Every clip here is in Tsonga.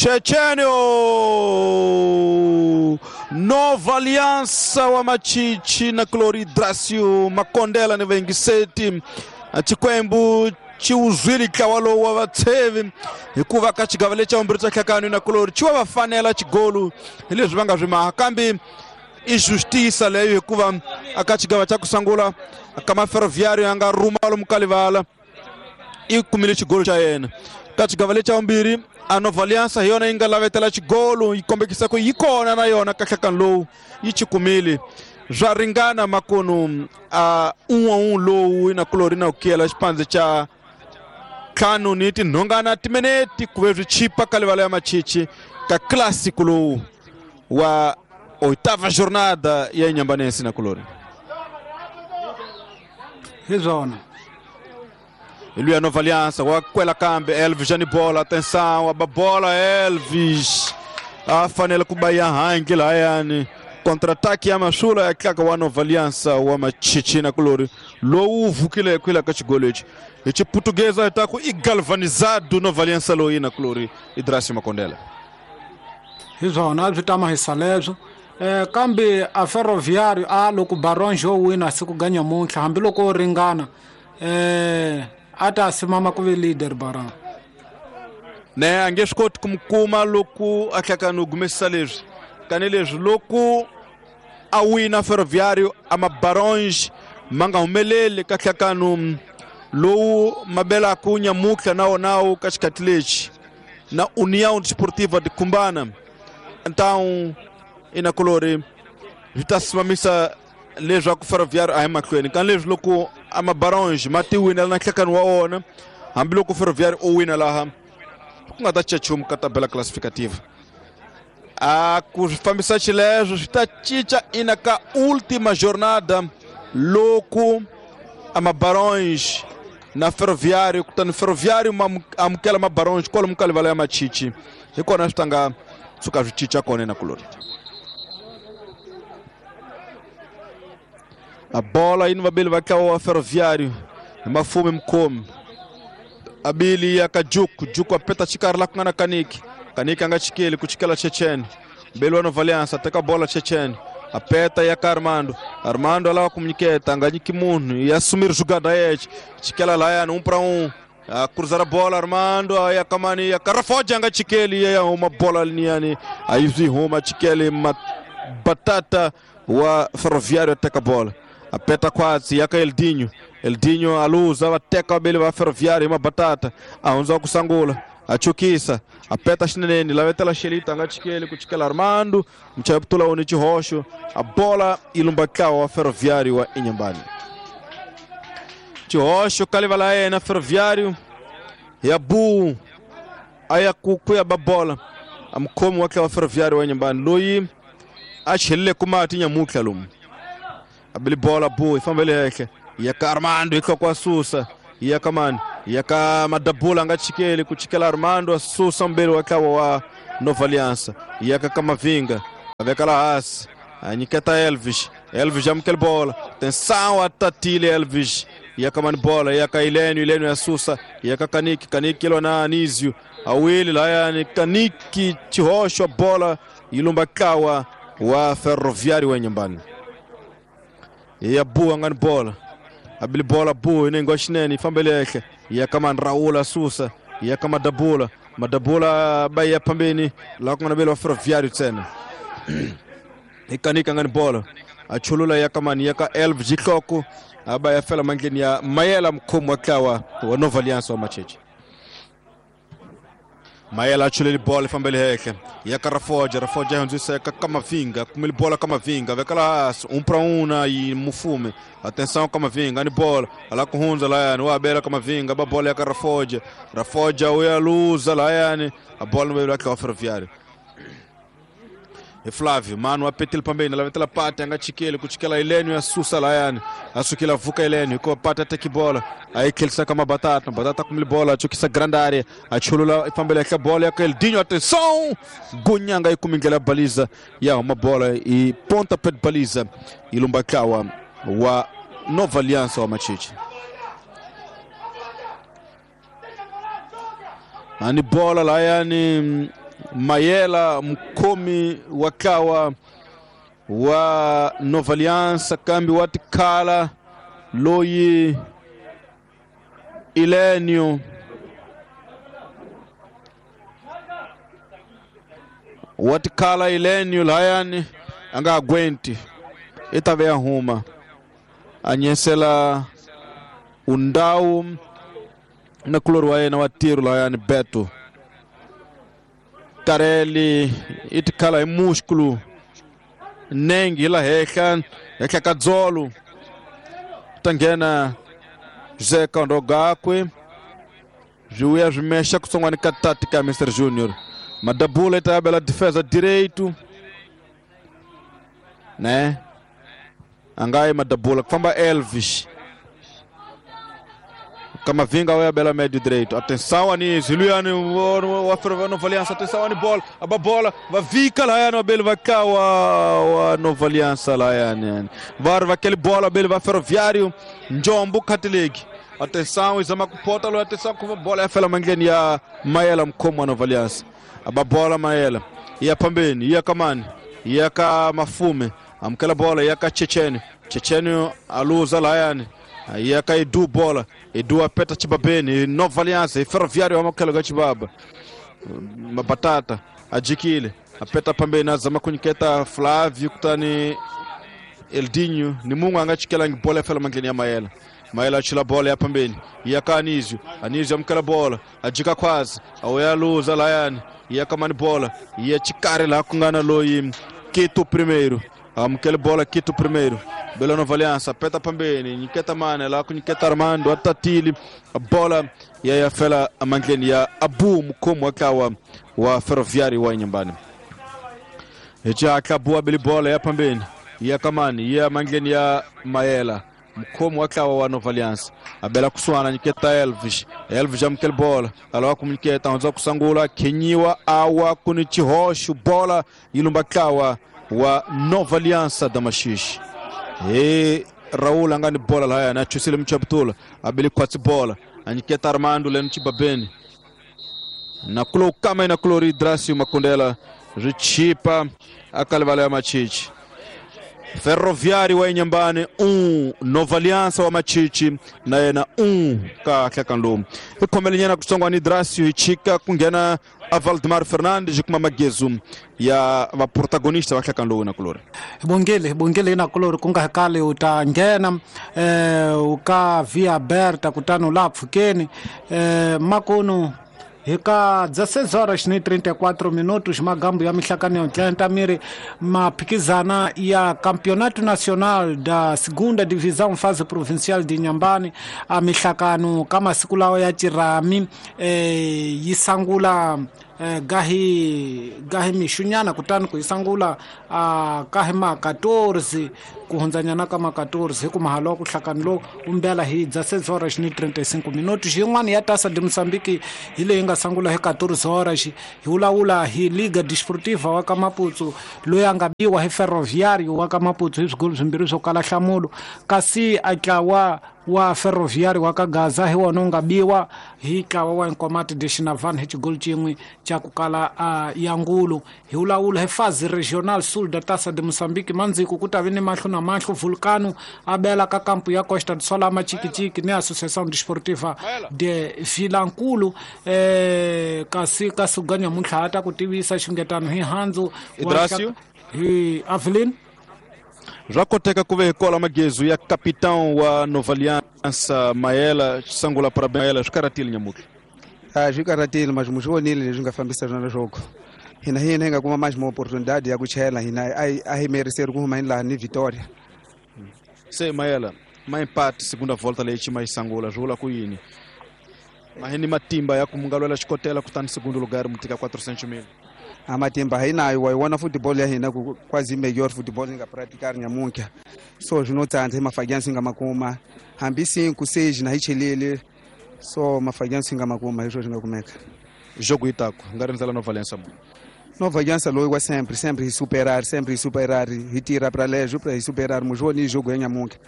Chechenio Nova Aliança wa Machichi na Cloridracio Makondela ni vaingiseti Chikwembu chiuzwili ntlawa lowu wa vatshevi hikuva ka xigava lexi xa vumbirhi xa nhlakano na kulori xi wa va fanela xigolu hi leswi va nga swi maha kambe i justiça leyo hikuva aka xigava xa ku sungula ka maferroviário ya nga rhuma lomu ka livala i kumile xigolo xa yena ka xigava lexi xa vumbirhi a Nova Aliança hi yona yi nga lavetela xigolo yi kombekisa ku yi kona na yona ka nhlakano lowu yi xi kumile swa ringana makunu a un'we lowu na kulori na ku kiyela xipandze xa ntlhanu ni tinhongana timinete ku ve swi chipa ka livala ya machichi ka clássico lowu wa oitava jornada ya Inhambane na kulori hi swona luya Nova Aliança wa kwela kambe Elvis ni bola atenção a bola Elvis a fanele ku ba ya hangi lahayani contra-ataque ya masula ya tlaka wa Nova Aliança wa machichi na kulori lowu vukile kwila ka xigolo lexi hi xiputukeza hi ta ku i galvanizado Nova Aliança loyi na kulori Idrasi Makondela hi swona a swi tama hi saleswo kambe a Ferroviário a loko Barões yo wina siku ga nyamuntlha hambiloko o ringana a ta simama ku ve leader Baron ne a nge swi koti ku mi kuma loko a tlhaka no gumesisa leswi tanihileswi loko a wina Ferroviário a mabaronge ma nga humeleli ka nhlakano lowu ma belaka nyamutlha na wonawu ka xikhathi lexi na União Desportiva de Cumbana então inakulori swi ta simamisa leswaku Ferroviário a hi mahlweni ka leswi loko a mabaronge ma ti winela na nhlakano wa wona hambiloko Ferroviário o wina laha ku nga ta cinca nchumu ka tabela classificativa a ku swi fambisa xileswo swi ta cinca ina ka última jornada loko a mabaronge na Ferroviário kutani Ferroviário ma amukela mabaronge kwalomu ka livala ya machichi hi kona swi ta nga tshuka swi cinca kona na kulori a bola yini vabili va ntlawa wa Ferroviário hi mafumi mukhomi abili ya ka Juku Juku apeta xikarhi la ku nga na Kaniki Kaniki a nga chikeli ku chikela Chechen mbeli wa Nova Aliança teka bola Chechen apeta ya ka Armando Armando alava ku nyiketa a nga nyiki munhu ya sumir jugada yexe chikela layani 1 para 1 a cruzar a bola Armando ya kamani ya Karafoja nga chikeli ya huma bola liniyani a yi swi huma chikeli Batata wa Ferroviário ateka bola apeta kwatsi yaka Eldinho Eldinho aluza vateka vabeli va Ferroviário ma Batata a hundza ku sangula a chukisa apeta xineneni lavetela Xelita a nga chikeli ku chikela Armando muchayaputula woni xihoxo a bola yi lumba ntlawa wa Ferroviário wa Inhambane xihoxo ka livala ya yena Ferroviário ya bu a ya ku ya ba bola a mukhomi wa ntlawa wa Ferroviário wa Inhambane loyi a chelile ku mati nyamutlha lomu abili bola bu yi fambele henhla ya ka Armando yi hloko a susa ya ka mani ya ka Madabula a nga chikeli ku chikela Armando a susa mbeli wa ntlawa wa Nova Aliança ya ka Kamavinga a veka la hansi a nyiketa Elvis Elvis amukela bola atenção a tatile Elvis ya ka mani bola ya ka Ilênio Ilênio ya susa ya ka Kaniki Kaniki ilwa na Anísio awili layani Kaniki xihoxo bola yi lumba ntlawa wa Ferroviário wa Inhambane ya bu a nga ni bola abili bola bu inengo wa xinene yi fambele henhla ya ka mani Raul a susa ya ka Madabula Madabula ba ya phambeni laha ku nga na vele wa Ferroviário ntsena hi Kanika nga ni bola a chulula ya ka mani ya ka Elvis Xihloko a ba ya fela mandleni ya Mayela mukhomi wa ntlawa wa Nova Aliança wa Macheche Mayela a chuleli bola yi fambele henhla ya ka Rafoja Rafoja hundzisa ka Kamavinga kumele bola Kamavinga veka la hansi 1 para 1 na yi Mufume atenção Kamavinga ni bola ala ku hundza layani wa bela Kamavinga ba bola ya ka Rafoja Rafoja uya luza layani a bola no bela wa Ferroviário e Flávio mano apetele pambeni lavetela pate a nga chikeli ku chikela Ilênio ya susa layani a sukela vuka Ilênio ko pate ateki bola aí tlhelisa ka Mabatata Batata kumile bola a chukisa grande área a chulula ifambele henhla bola ya ka Eldinho atenção Gunyanga yi kumi ndlela ya baliza ya huma bola i ponta pet baliza yi lumba ntlawa wa Nova Aliança wa Machichi ani bola layani Mayela mukhomi wa ntlawa wa Nova Aliança kambe wa tikhala loyi Ilenio wa tikhala Ilenio layani a nga aguenti i ta ve ya huma a nyesela undhawu na kulori wa yena wa tiro layani Beto Kareli i tikhala hi músculo nenge hi la henhla henhla ka dzolo ta nghena José Kondo gakwe swi vuya swi mexa kutsongwana ka tati ka Mr Junior Madabula i ta bela defesa direito né a nga yi Madabula ku famba Elvis Camavinga wa bela médio direito. Atenção Anísio, Luyani wa Nova Aliança, atenção ani bola, a bola, va vika lá no bele va cá wa Nova Aliança lá yani. Var va aquele bola bele va Ferroviário, Njombo Catholic. Atenção izama kupota lo atenção com bola ya fela mandleni ya Mayela mkhomo wa Nova Aliança. A bola Mayela, iya pambeni, iya kamani, iya ka Mafume, amkela bola iya ka Chechene. Chechene aluza lá yani. Ia ka Edu bola, Edu apeta Chibabeni, Nova Aliança, e Ferroviário amakela ga Chibaba. Mabatata, ajikile, apeta pambeni azama kunyiketa Flávio kutani Eldinho, ni mungu angachikela bola fela mandleni ya Mayela. Mayela achila bola ya pambeni, ia ka Anísio, Anísio amkela bola, ajika kwazi, awea luza layani, ia ka mani bola, ia chikare la kungana loyi Quito primeiro. Amkele bola Quito primeiro. Bela Nova Aliança, apeta pambeni, Niketa Mane, lá com Niketa Armando, Atatili, a bola e aí a fela a mandleni ya Abu mukhomo wa wa Ferroviário wa Inhambane. Já acabou a bele bola ya pambeni, ya Kamani, ya mandleni ya Mayela, mukhomo wa Nova Aliança. A bela kusuana Niketa Elvis, Elvis já mkele bola, aloa com Niketa, onza kusangula, Kenyiwa awa kunichihoshu bola ilumba kawa wa Nova Aliança da Machixe. E Raul angani bola la na chusile mchaptula abili kwatsi bola aniketa Armando leno Chibabeni na kulo kama ina kulori Dracio Makondela richipa akalivala ya Machichi. Ferroviário wa Inhambane 1 Nova Aliança wa Machichi na yena 1 ka hlakanlomu ikhomelenyana kusongwa ni Dracio ichika kungena a Valdemar Fernandes kuma magezu ya va protagonista va hlakanlomu na kulori bongele bongele na kulori kunga kale utangena uka via Berta kutano la pfukeni makono hika 16 horas ni 34 minutos magambo ya mihlakani ya tlanta miri maphikizana ya Campeonato Nacional da Segunda Divisão fase provincial de Inhambane a mihlakano kama siku lawa ya chirami yisangula gahi gahi mishunyana kutani kuisangula kahi ma 14 kuhundzanyana ka ma 14 hi ku mahalo wa ku hlakani umbela hi 16 horas ni 35 minutos yin'wana ya Taça de Moçambique hi leyi nga sangula hi 14 horas hi vulavula hi Liga Desportiva wa ka Maputo loyi a nga biwa hi Ferroviário wa ka Maputo hi swigolo swimbirhi swo kala nhlamulo kasi a tlawa wa Ferroviário wa ka Gaza hi wona wu nga biwa hi tlawa wa Nkomati de Xinavane hi xigolo xin'we xa ku kala ya ngulu hi vulavula hi Fase Regional Sul da Taça de Moçambique mandziko ku ta vi ni mahlo na mahlo Vulcano a bela ka kampo ya Costa do Sol a Machikichiki ni Associação Desportiva de Vilankulu kasi ka suganya muntlha ta ku tivisa xingetano hi handzu Idracio hi Avelin Já koteka ku ve kola magezu ya capitão wa Nova Aliança Maela sangula para Maela swi nyamutlha a swi karatile mas mu swi vonile leswi nga fambisa swona jogo hina hina hi nga kuma mais uma oportunidade ya ku chela hina a hi merecer ku huma laha ni Vitória se Maela ma empate segunda volta leyi xi ma yi sangula swi vula ku yini mahini matimba ya ku munga lwela xikotela kutani segundo lugar mu tika 400 mil a matimba hi nayo wa yi vona football ya hina ku quase melhor football hi nga praticar nyamuntlha so swi no tsandza hi mafagyansi hi nga makuma hambi 5 6 na hi chelele so mafagyansi hi nga makuma hi swo swi nga kumeka jogo itako nga rindzela Nova Aliança mo Nova Aliança loyi wa sempre sempre hi superar sempre hi superar hi tirha pra lejo pra hi superar mujoni jogo ya nyamuntlha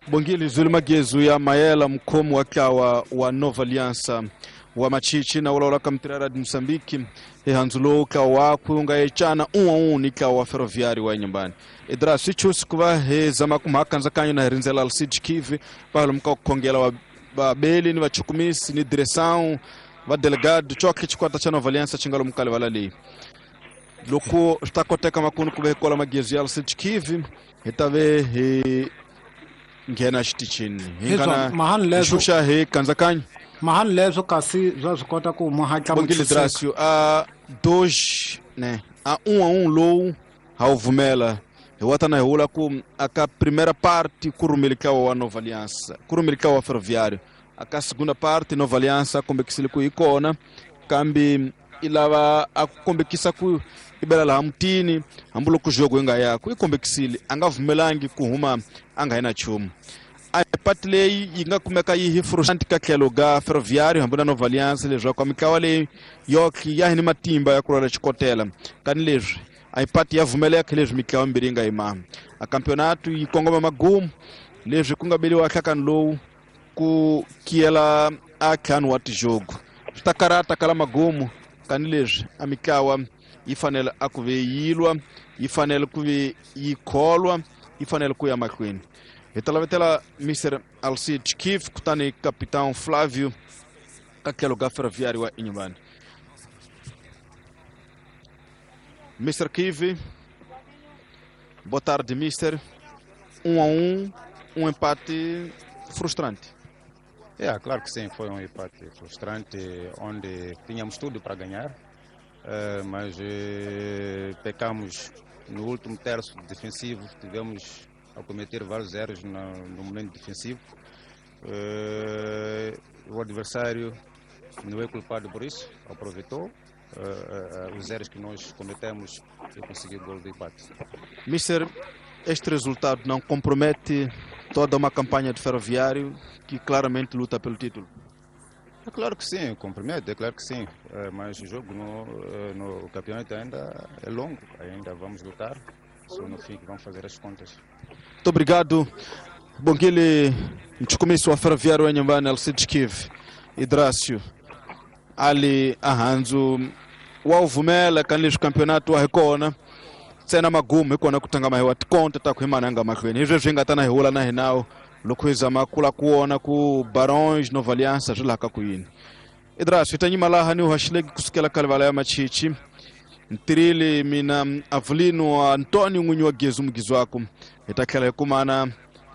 Bongile Zulu Magezu ya Mayela mkhomo wa tlawa wa Nova Aliança Wa Machichi na vulavula ka mitirhi ya Radio Mozambique hi handzu lowu ntlawa wakwe wu nga ecana 1-1 ni ntlawa wa Ferroviário wa Inhambane. Idra swi chusi ku va hi zama ku mhaka kandzakanyo na hi rindzela Alcide Kivi va lomu ka ku khongela va vabeli ni vachukumisi ni direção va delegado coke xikwata xa Nova Aliança xi nga lomu ka livala leyi. Loko swi ta koteka makunu ku ve hi kola magezi ya Alcide Kivi hi ta ve hi nghena xitichini hi Hi nga swona, na mahani leswo- xuxa hi kandzakanyo. Mahani leswo kasi bya swi kota ku mu hatla mu Bongile tshunxeka. Dracio a 2 né a 1-1 lowu ha wu vumela hi wata na hi vula ku aka primeira parte ku rhumile ntlawa wa Nova Aliança ku rhumile ntlawa wa Ferroviário aka segunda parte Nova Aliança kombekisile ku hi kona kambe i lava a ku kombekisa ku i bela laha mutini hambiloko jogo yi nga yaku i kombekisile a nga vumelangi ku huma a nga yi na nchumu. A pati leyi yi nga kumeka yi hi frustrante ka tlhelo ga Ferroviário hambi na Nova Aliança leswaku mitlawa leyi yoki ya hi ni matimba ya ku lwela xikotela kani leswi a yi pati ya vumeleka leswi mitlawa mimbirhi yi nga yimanga. A campeonato yi kongoma magumu leswi ku nga beliwa nhlakano lowu ku kiyela a ntlhanu wa tijogo swi ta karata kala magumu kani leswi a mitlawa yi fanele a ku ve yi lwa yi fanele ku ve yi kholwa yi fanele ku ya mahlweni. Hi ta lavetela Mr Alcide Kif kutani Capitão Flávio ka tlhelo ka Ferroviário wa Inhambane. Mr Kivi, boa tarde, mister. 1-1, um empate frustrante. É, claro que sim, foi um empate frustrante, onde tínhamos tudo para ganhar, mas pecamos no último terço defensivo, tivemos a cometer vários erros no momento defensivo. O adversário não é culpado por isso, aproveitou os erros que nós cometemos e conseguiu o gol de empate. Mister, este resultado não compromete toda uma campanha de Ferroviário que claramente luta pelo título? É claro que sim, compromete, é claro que sim, mas o jogo no campeonato ainda é longo, ainda vamos lutar, só no fim que vamos fazer as contas. Muito obrigado, Bongile Mchukumisi wa Ferroviário wa Inhambane, Alcide Kiv, Idrácio, Ali Ahanzu, wa uvumela kanileswi campeonato wa hi kona ntsena magumu hi kona ku tlanga mahi wa tikonta ta ku hi mananga mahlweni hi sweswi hi nga ta na hi wula na hi nawu loko hi zama ku la ku vona ku Barões Nova Aliança swi laha ka ku yini. Idrácio, hi ta nyima laha ni haxileki kusukela ka livala ya Machichi. Ntirhile mina Avelino Antônio n'winyi wa Gezu Mugizwaku hi ta tlhela hi kumana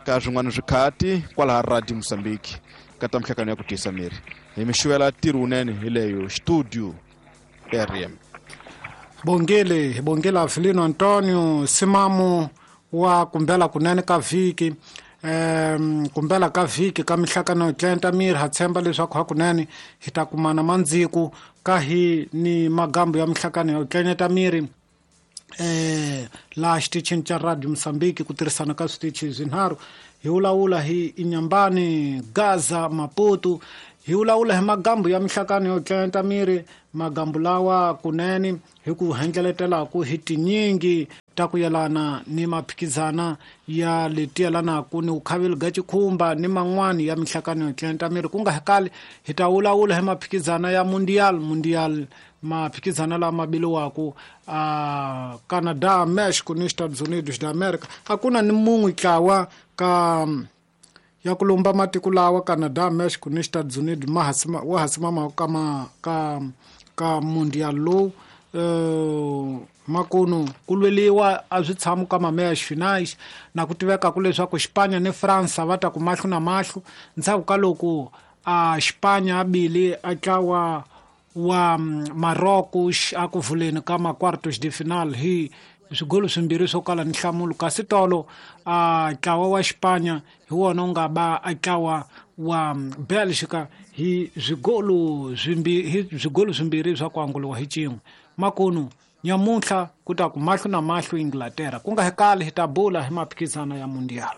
ka swin'wana swikhati kwalaha Radio Mozambique ka ta mihlangano ya ku tiyisa miri. Hi mi xuvela ntirho wunene hi leyo studio RM. Bongile, bongile Avelino Antônio Simamu wa kumbela kunene ka vhiki. Kumbela ka vhiki ka mihlangano yo tlenta miri ha tshemba leswaku hakunene hi ta kumana mandziku ka hi ni magambo ya mihlangano yo tlenyeta miri laha xitichini xa Radio Mozambique ku tirhisana ka switichi swinharhu. Hi vulavula hi Inhambane, Gaza, Maputo. Hi vulavula hi magambo ya mihlangano yo tlenta miri, magambo lawa kunene hi ku hendleletelaku hi tinyingi ta ku yelana ni maphikizana ya leti yelanaka ni vukhaveli bya xikhumba ni man'wani ya mihlangano yo tlenta miri. Ku nga kali hi ta vulavula hi maphikizana ya mundial maphikizana lama biliwaka a Canada, Mexico ni Estados Unidos da America. A ku na ni mun'we ntlawa ka ya ku lumba matiko lawa Canada, Mexico ni Estados Unidos wa ha simama ka ka mundial lowu. Makunu ku lweliwa a swi tshami ka mameya finais na ku tiveka ku leswaku Xipanya ni Fransa va ta ku mahlo na mahlo ndzhaku ka loko a Xipanya a bile a tlawa wa Marocos a ku vuleni ka ma-quartos de final hi swigolo swimbirhi swo kala ni nhlamulo. Kasi tolo a ntlawa wa Xipanya hi wona wu nga ba a ntlawa wa Belgica hi swigolo swimbirhi swa ku anguliwa hi cin'we. Makunu nyamuntlha ku ta ku mahlo na mahlo Inglaterra ku nga hekali hi ta bula hi maphikizana ya mundial.